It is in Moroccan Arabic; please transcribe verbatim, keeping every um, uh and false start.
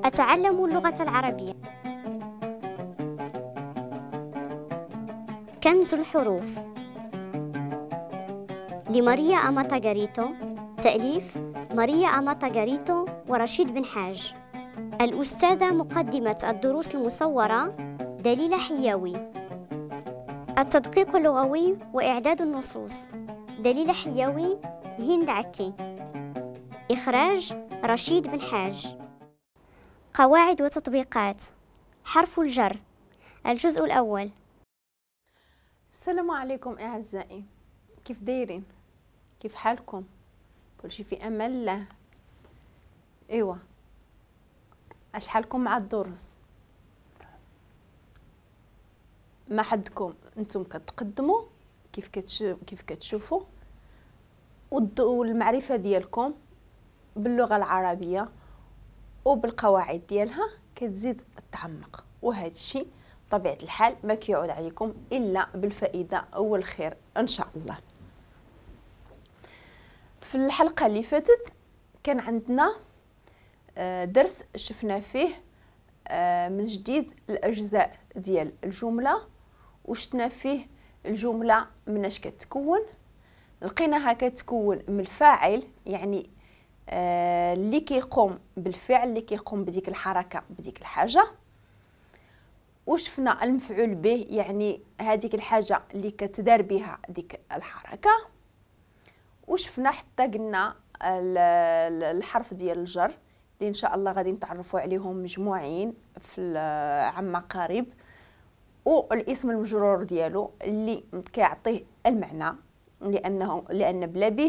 أتعلم اللغة العربية. كنز الحروف لماريا أماتا غاريتو، تأليف ماريا أماتا غاريتو ورشيد بن حاج. الأستاذة مقدمة الدروس المصورة دليلة حياوي. التدقيق اللغوي وإعداد النصوص دليلة حياوي، هند عكي. إخراج رشيد بن حاج. قواعد وتطبيقات. حرف الجر، الجزء الأول. السلام عليكم أعزائي، كيف دايرين؟ كيف حالكم؟ كل شيء في أمان الله. إيوا اش حالكم مع الدروس؟ ما حدكم انتم كتقدموا كيف كتشوفوا كيف كتشوفوا والمعرفة ديالكم باللغة العربية وبالقواعد ديالها كتزيد تعمق، وهذا الشيء بطبيعة الحال ما كيعود عليكم الا بالفائدة والخير ان شاء الله. في الحلقة اللي فاتت كان عندنا درس شفنا فيه من جديد الاجزاء ديال الجملة، وشفنا فيه الجملة مناش كتكون. لقيناها كتكون من الفاعل، يعني اللي كيقوم بالفعل، اللي كيقوم بديك الحركة بديك الحاجة. وشفنا المفعول به، يعني هذيك الحاجة اللي كتدار بها ديك الحركة. وشفنا حتى قلنا الحرف ديال الجر اللي ان شاء الله غادي نتعرفوا عليهم مجموعين في عما قريب، والاسم المجرور ديالو اللي كيعطيه المعنى، لانه لان بلا به